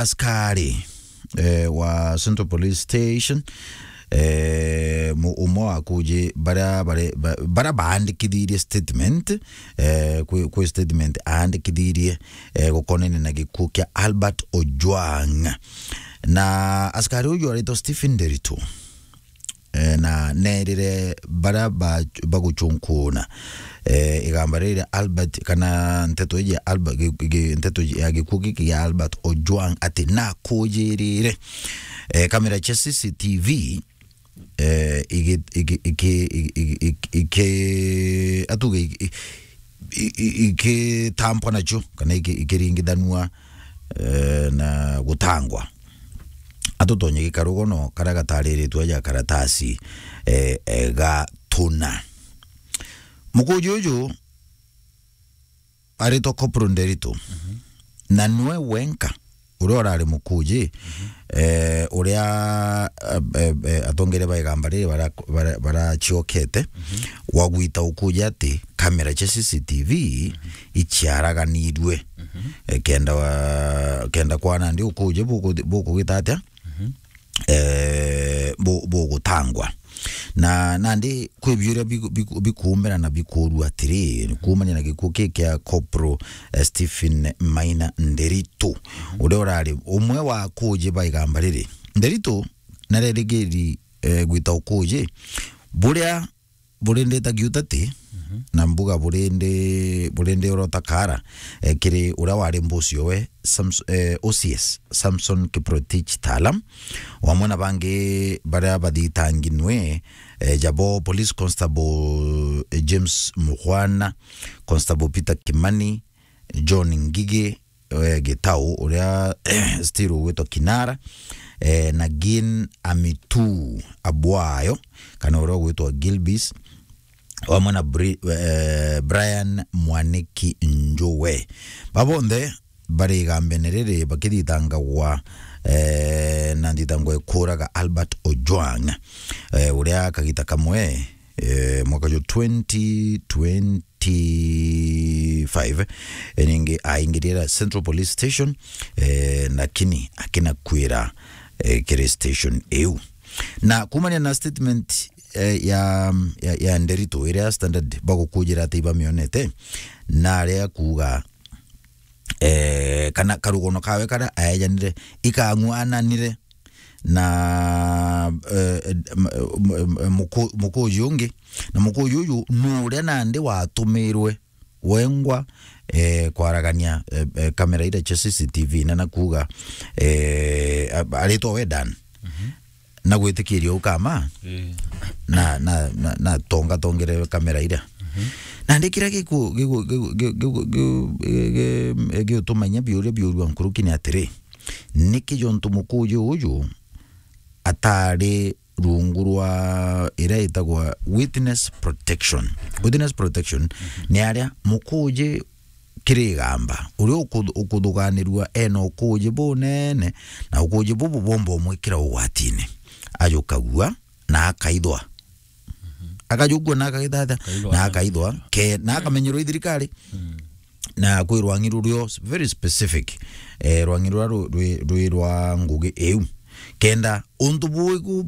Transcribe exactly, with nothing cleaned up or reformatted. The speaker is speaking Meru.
askari, eh, wa Central Police Station, eh, mu-, umwe wa kuji baria bare-, ba-, baria baandikithirie statement, eh, kwi, kwi statement aandikithirie, eh, gukonene na gikuo kia Albert Ojwang. Na askari uyu aritwa Stephen Nderitu. Eh, na nerire baria ba-, baguchunkuna, eh, igamba riri ria Albert, kana nteto iji ya Albert, gi-, gi-, nteto iji ya gikuo giki gia Albert Ojwang ati nakujirire, eh, kamera cia C C T V, eh, igi-, igi-, iki-, igi-, igi-, iki-, atuge iki-, i-, i-, ikitampwa nacio, kana iki-, ikiringithanua, eh, na gutangwa. Atutonye gikarugono karia gatariritwe aja karatasi, eh, eh, gatuna. Mukuji uju aritwa Corporal Nderitu. Mhm. Na niwe wenka uria urari mukuji, mhm, eh, uria, eh, eh, eh, atongeria ba igamba riri bara-, bara-, baraciokete, mhm, wagwita ukuji ati kamera cia C C T V, mhm, iciaraganirue. Mhm. Eh, kenda wa-, kenda kwana ndi ukuji buku-, bukugita atia? Mhm. Eh, bu-, bugutangwa. Na nandi kwi biuria biku-, biku-, bikuumira na bikuurua atiri, kuumania na gikuo ki kia Corporal, eh, Stephen Maina Nderitu, mhm, uria urari umwe wa akuji ba igamba riri. Nderitu narerigiri, eh, gwita ukuji buria burinditagia utati, mhm, na mbuga burindi, burindi urota kara, eh, kiri uria wari mbucio we, Sams-, eh, O C S, Samson Kiprotich Talam, wamwe na bangi baria bathitanginwe, eh, jabo Police Constable, eh, James Mukhwana, Constable Peter Kimani, John Ngigi, eh, Gitau, uria still ugwitwa Kinara, eh, na Gin Amitu Abwayo, kana uria ugwitwa Gilbis, wamwe na Bri-, eh, Brian Mwaniki Njue. Babonthe bari igambene riri bakithitangagwa, eh, na nthitango ikuraga Albert Ojwang, eh, uria kagita kamwe, eh, mwaka jwa twenty twenty-five, eh, ningi aingirira Central Police Station, eh, lakini akinakwira, eh, kiri station iu. Na kumania na statement, eh, ya, ya, ya Nderitu, iria Standard bagukujira ati ibamionete, na aria kuuga, eh, kana karugono kawe karia aejanire ikang'wananire na, eh, m-, m-, m-, muku-, mukuji ungi, na mukuji uju nuria nandi watumirwe wengwa, eh, kwaragania, eh, eh, kamera iria cia C C T V, na nakuuga, eh, a-, aritwa we Dan. Mhm. Na gwitikiria ukama, eh, na, na, na, na tonga tongere kamera iria. Mhm. Nandi kiria giku-, giku-, giutumanya biuria biurua nkuruki ni atiri, niki jontu mukuji uju atari rungu rwa iria itagwa witness protection. Witness protection, mhm, ni aria mukuji kiri igamba, uria uku-, ukuthuganirua ena ukuji bunene, na ukuji bubu bwomba umwikira ugwatini. Ajukagua na akaithwa. Mhm. Akajukua na akagithatha, akaithwa na akaithwa, ke-, na akamenyerwa i thirikari. Mm. Na kwi rwangi rurio very specific, eh, rwangi ruria ru-, rwi, rwi rwa ngugi iu. Kenda untu bu-, bu-,